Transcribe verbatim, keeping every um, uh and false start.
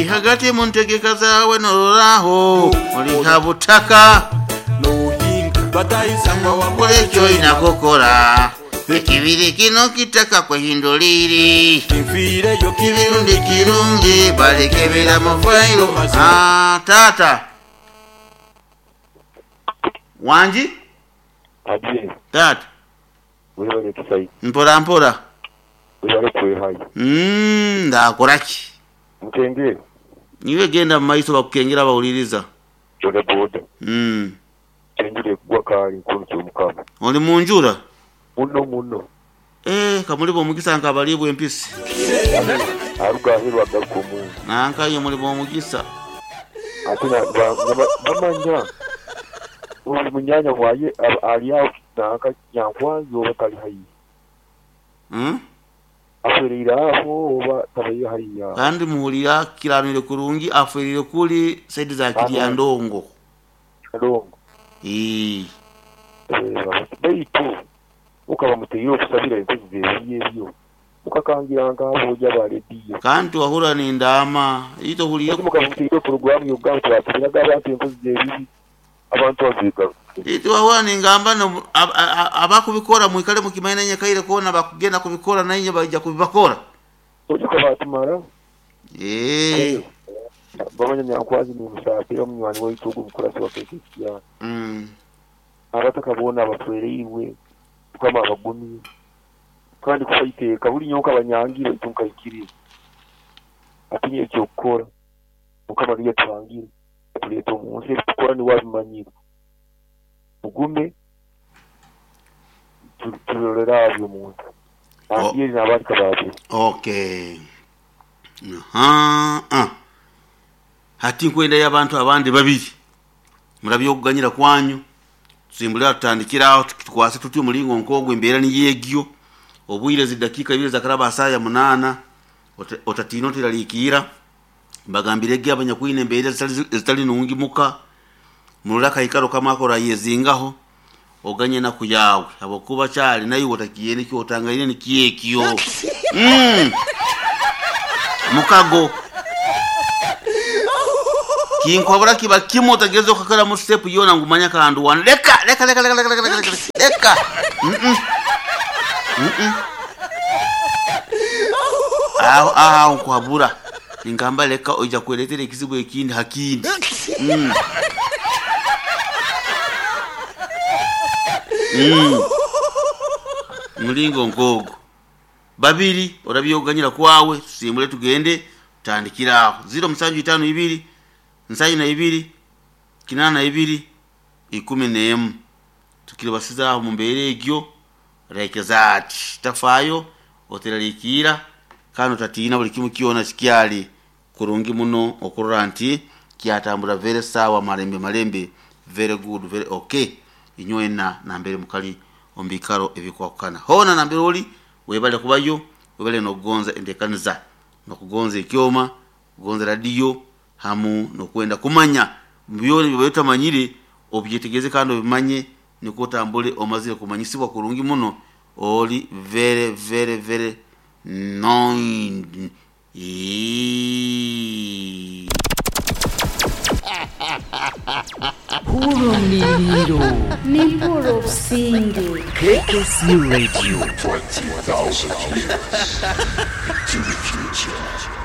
Hagati mu ntegeka zaawe noloraho oli ha butaka kola ekyoyina kukola ekibiri kino kitaka kwehinduliri kirundi kirungi balekebera mu fayiro. Ah, taata wangi. Abye taata webale kisayi. Mpora mpora. Webale kwehayo. Mm, ndakoraki mukengere. Niwe genda mu maiso bakukengera bawuliriza. Boda boda. Mm. Enjura ekugwa kaali nkono kyomukama. Oli munjura muno muno. Eh, kamulibo omukisa nkabalibwa empisi. Aruga aheru agaruka omunju. Nankaye mulibo omukisa. Ate bamanya oli munyanya waye ali awo nanka nyankwanzi oba tali haihi. Mm? Afereire aho oba tabaire hariya. Kandi muhulira kiranire kurungi aferire kuli saidi za Kiryandongo. Ndongo. Eh. Baitu ukaba muteire okusabira enkozi zebibi ebyo mukakangira nk'aboja ba rediyo. Kandi wahura nindama ito hulire mukaba muteire porogaramu yogamba tubasabiraga abantu enkozi zebibi abantu bazigaruka. Ito wahura ningamba no abakubikora mwikale mukimaina nyakaire kona bakugenda kubikora nainye bajja kubibakora. Ojuka batumara. Eh. Bamanya nyankwazi ni musafiri omunywani waitu ogu mukurasi wa K K C R. Mm. Abataka boona abatwereirwe mukama abagumye kandi kufaiteeka buli nyonka banyangire baitu nkaikiriza atinye ekyokukora mukama niyo yatwangire atuleeta omu nsi ebitukora niwe abimanyire mugume turolera abyo omuntu nangire n'abandi kababiri. Okay. Aha. Ah. Hati nkwenda y'abantu abandi babiri murabyo okuganyira kwanyu tusimbulira tutandikiraho tukwase tuti omulingo nkogwe embeera niyegyo obwire zidakika ibiri zakaraba asaya munana otatino tiraliikira mbagambirege abanyakwine embeera zitali nungi muka murora kaikaro kamakora yezingaho oganye naku yawe abokuba kyali naye otakiyene kyotangaine nikyekyo. Mm. Mukago kinkwabura kiba kimwe otageza okakora mu step yona ngumanya kandu wan leka leka leka leka leka leka leka leka. Mm mm. Aho aho nkwabura ingamba leka oija kuleetera ekizibu ekindi hakindi. Mm. Mm. Mulingo nkogo babiri orabyoganyira kwawe tusimbule tugende tutandikiraho zero musanju itano ibiri nsanju na ibiri kinana ibiri ikumi n'emu tukiribasiza aho mu mbeera egyo rekeza ati tafayo oteraliikira kandi otatiina buli kimu kyona kikyali kurungi muno okurora nti kyatambura very sawa malembe malembe very good very okay inywena nambere mukali ombikaro ebikwakana hona nambere oli webale kubayo webale nokugonza entekaniza nokugonza ekyoma kugonza radio hamu nokwenda kumanya byona byotamanyire obyetegeze kandi obimanye niko otambule omazire kumanyisibwa kurungi muno oli very very very nine. Hurumliro Nimpuro Singi K K C Radio twenty thousand years to the future.